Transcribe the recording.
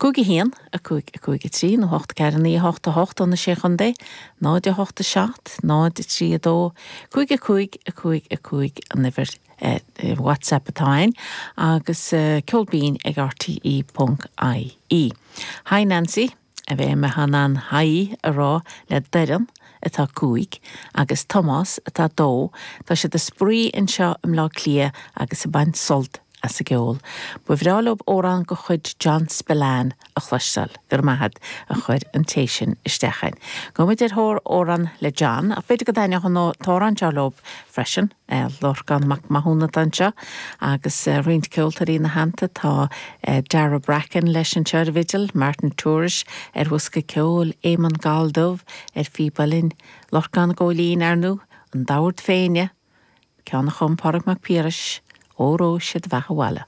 5 1, 5, 5, 3 nó 8 4 9 8 8 ó na Sé Chontae, 0 8 7 0 3 2 5 5 5 5 an uimhir WhatsApp atá ann agus ceol binn ag rte ponc ie. Hi Nancy, a bheidh mé in ann haigh a rá le Doireann atá 5 agus Tomás atá 2, tá siad ag spraoi anseo i mBleá Cliath agus ag baint sult as an gceol. Ba bhreá leo amhrán de chuid John Spillane a chloisteáil. Go raibh maith agat a chuir an té sin isteach chugainn. Gabhfaidh muid ar thóir amhrán le John, ach b'fhéidir go dtaitneodh an t-amhrán seo leo freisin. Lorcán Mac Mathúna atá anseo agus roinnt ceoltóirí ina theannta. Tá Dara Bracken leis anseo ar an bhfidil, Martin Tourish ar bhosca ceoil, Éamonn Galldubh ar phíb uilleann, Lorcán Góilín, ar ndóigh, an Dord Féinne, ceann a chum Pádraig Mac Piarais, Óró Sé do Bheatha Abhaile.